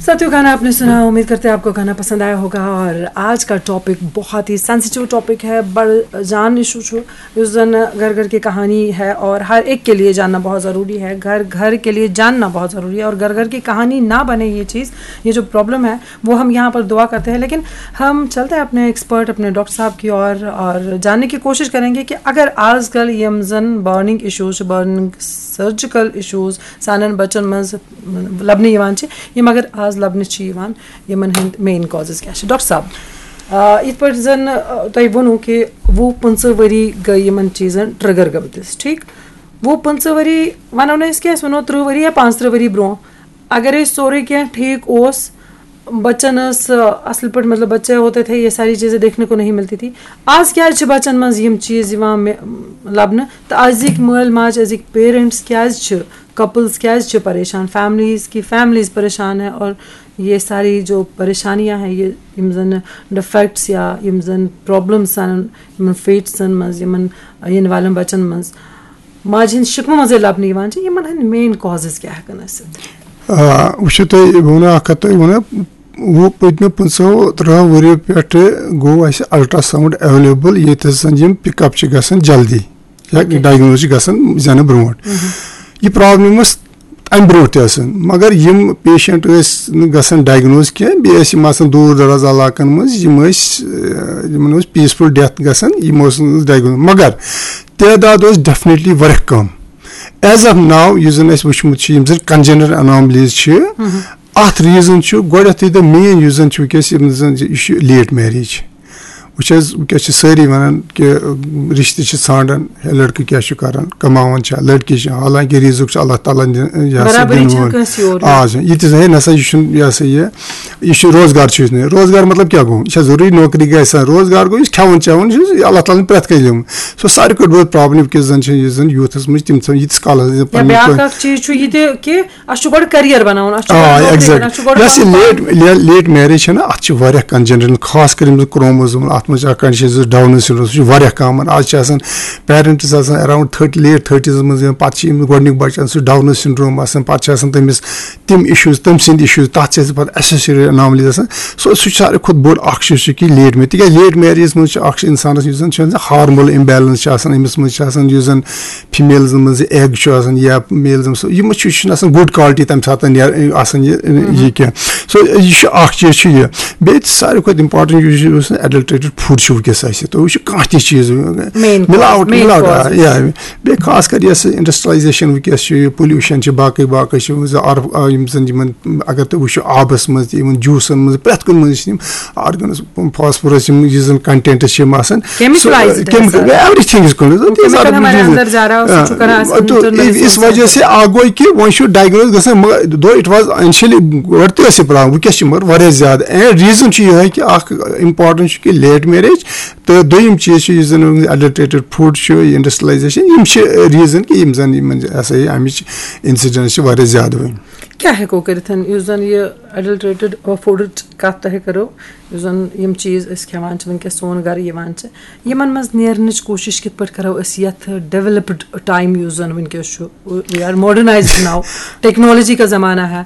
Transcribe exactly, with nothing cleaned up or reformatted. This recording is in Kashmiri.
साथियों, गाना आपने सुना, उम्मीद करते हैं आपको गाना पसंद आया होगा। और आज का टॉपिक बहुत ही सेंसिटिव टॉपिक है, बड़ जान इशू छो, उस दिन घर घर की कहानी है और हर एक के लिए जानना बहुत ज़रूरी है। घर घर के लिए जानना बहुत ज़रूरी है और घर घर की कहानी ना बने ये चीज़, ये जो प्रॉब्लम है, वो हम यहाँ पर दुआ करते हैं। लेकिन हम चलते हैं अपने एक्सपर्ट, अपने डॉक्टर साहब की और और जानने की कोशिश करेंगे कि अगर आजकल यम जन burning issues, burning surgical issues सानन बच्चन मंज लबने यवान छे, ये मगर आज लबने छे यवान, यमन हंद मेन कॉजेज क्या छे? डॉक्टर साहब, आ, इत पर जन, आ, तय वनो कि वो पंच वरी गई यमन चीजन ट्रिगर गमतिस, ठीक? वो पंच वरी वनो ने इसके सुनो त्रुह वरी या पांच त्रुह वरी ब्रो, अगर ये सोरे क्या ठीक ओस, बच्चन अस, असल पर मतलब बच्चे होते थे, ये सारी चीजें देखने को नहीं मिलती थी। आज क्या छे बच्चन मंज यम चीज यवान में लबने, तो आज एक मल माज, आज एक पेरेंट्स क्या छे, कपल्स क्या छे परेशान, फैमिलीज की फैमिलीज परेशान है। और ये सारी जो परेशानियां हैं, ये यम जन डिफेक्ट्स या यम जन प्रॉब्लम्स आन यमन फेट्सन मंज, यमन इन वालन बच्चन मंज, माज हंद शिकमो मंज लबने यवान छे, यमन हंद मेन कॉजेज क्या हेकन असित? آ، وٕچھِو تُہۍ، بہٕ وَنہٕ اَکھ کَتھ تۄہہِ وَنہٕ، وُہ، پٔتمہِ پٕنٛژٕہو ترٛہو ؤرِیو پٮ۪ٹھٕ گوٚو اَسہِ الٹراساؤنڈ ایویلیبل، ییٚتہِ زَن یِم پِک اپ چھِ گژھان جلدی یا ڈائگنوز چھِ گژھان زینہٕ برونٛٹھ۔ یہِ پرابلم ٲس اَمہِ برونٛٹھ تہِ ٲسٕن، مگر یِم پیشنٹ ٲسۍ نہٕ گژھان ڈائگنوز کینٛہہ، بیٚیہِ ٲسۍ یِم آسان دوٗر دراز علاقن منٛز، یِم ٲسۍ، آ، یِمن اوس پیسفل ڈیتھ گژھان، یِم اوس نہٕ ڈائگنوز، مگر تعداد اوس ڈیفنیٹلی واریاہ کم۔ ایز آف ناو یُس زن اسہِ وٕچھمُت چھُ، یِم زن کنجنرل اناملیز چھِ، اتھ ریزن چھُ گۄڈنیتھٕے، تہٕ مین یُس زن چھُ وٕنکیٚس، یِم زن یہِ چھُ لیٹ میریج۔ وٕچھ حظ، وٕنکیٚس چھِ سٲری ونان کہِ رشتہٕ چھِ ژھانڈان، ہے، لڑکہٕ کیٛاہ چھُ کران، کماوان چھا، لڑکی چھِ، حالانکہِ رزق چھُ اللہ تعالیٰ ہن دِ-، یہِ ہسا برابری دِنہٕ چھَنہٕ وول۔ کٲنٛسہِ یورٕ آ، یورٕ۔ یہِ تہِ زن ہے نسا یہِ چھُنہٕ، یہِ ہسا یہِ، یہِ چھُ روزگار چھُ یُس نہٕ، روزگار مطلب کیٛاہ گوٚو؟ یہِ چھا ضروٗری نوکری گژھِ آسان؟ روزگار گوٚو یُس کھٮ۪وان چٮ۪وان چھُ، یہِ چھُ اللہ تعالیٰ ہن پرٛٮ۪تھ کٲنٛسہِ دیُتمُت۔ سُہ ساروی کھۄتہٕ بٔڑ پرابلم وٕنکیٚس زن چھِ، یُس زن یوٗتھس منٛز چھِ، تِم ژھٕنان ییٖتِس کالس زن یا پنٕنۍ بیٛاکھ کٲم۔ اکھ چیٖز چھُ یہِ تہِ کہِ اَسہِ چھُ گۄڈٕ کیریَر بَناوُن، اَسہِ چھُ گۄڈٕ آ، نوکری exactly۔ کَرٕنۍ، اَسہِ چھُ گۄڈٕ یۄس یہِ پَنُن پان۔ لیٹ، لے-، لیٹ میریج چھےٚ نہ، اَتھ چھِ واریاہ کنجنرل، خاص کر یِم زَن کروموزومل، اَتھ منٛز چھِ اَکھ کنڈیشن، سُہ ڈاؤن سنڈروم، سُہ چھُ واریاہ کامن۔ آز چھِ آسان پیرنٹس آسان اراؤنڈ تھٔرٹی، لیٹ تھٔرٹیٖز منٛز یِوان، پَتہٕ چھِ یِم گۄڈٕنیُک بَچہٕ، سُہ ڈاؤن سنڈروم آسان، پَتہٕ چھِ آسان تٔمِس تِم اِشوٗز، تٔمۍ سٕنٛدۍ اِشوٗز، تَتھ چھِ اَسہِ پَتہٕ ایسوسیٹڈ اناملیز آسان۔ سُہ، سُہ چھُ ساروی کھۄتہٕ بوٚڑ اَکھ چیٖز چھُ کہِ لیٹ میریج، تِکیازِ لیٹ میریجَس منٛز چھُ اَکھ چھُ اِنسانَس یُس زَن چھُ ہارمونل اِمبیلنس چھُ آسان، أمِس منٛز چھُ آسان یُس زَن فیمیلزن منٛز ایگ چھُ آسان یا میلزن منٛز، یِم چھُ، یہِ چھُنہٕ آسان گُڈ کالٹی تَمہِ ساتہٕ نیران، آسان یہِ، یہِ کینٛہہ۔ سو یہِ چھُ اَکھ چیٖز چھُ یہِ۔ بیٚیہِ تہِ ساروی کھۄتہٕ امپارٹنٹ یُس چھُ، یُس ایڈلٹریٹڈ فوڈ چھُ وٕنکیٚس اَسہِ، تُہۍ وٕچھِو کانٛہہ تہِ چیٖز، مِلاوٹ، main مِلاوٹ، cause۔ آ، یا بیٚیہِ خاص کر یۄس انڈسٹریلایزیشن وٕنکیٚس چھُ، یہِ پولیوشن چھُ، باقٕے باقٕے چھِ، یِم زَن آر-، آ، یِم زَن یِمن، اگر تُہۍ وٕچھِو آبس منٛز تہِ، یِمن جوٗسن منٛز، پرٛٮ۪تھ کُنہِ منٛز چھِ یِم آرگنس فاسفورس، یِم یُس زَن کنٹینٹ چھِ یِم آسان، chemical سُہ، آیزڈ کیمِکل، آسان۔ Every thing is called. Chemical ہمارے اندر جا رہا ہے، اس سے چھُ کران اصل internal اس وجہ سے آ گوٚو کہِ وۄنۍ چھُ ڈائگنوز گژھان، مگر دو اٹ واز انشلی گۄڈٕ تہِ ٲس یہِ پرابلم، وٕنکیٚس چھِ مگر واریاہ زیادٕ۔ اینڈ ریزن چھُ یِہوٚے کہِ اکھ امپارٹنٹ چھُ کہِ لیٹ میریج، تہٕ دوٚیِم چیٖز چھُ یُس زَن ایڈلٹریٹڈ فوڈ چھُ، یہِ انڈسٹریلایزیشن، یِم چھِ ریزن کہِ یِم زَن یِمن ہسا یہِ امِچ انسیڈنس چھِ واریاہ زیادٕ وۄنۍ۔ کیٛاہ ہٮ۪کو کٔرِتھ؟ یُس زَن یہِ ایڈلٹریٹڈ فوڈٕچ کَتھ تۄہہِ کٔرٕو، یُس زَن یِم چیٖز أسۍ کھٮ۪وان چھِ وٕنکیٚس، سون گَرٕ یِوان چھِ، یِمَن منٛز نیرنٕچ کوٗشِش کِتھ پٲٹھۍ کَرو أسۍ یَتھ ڈیولپڈ ٹایم یُس زَن وٕنکیٚس چھُ؟ We are modernized now، technology کا زمانہ ہے۔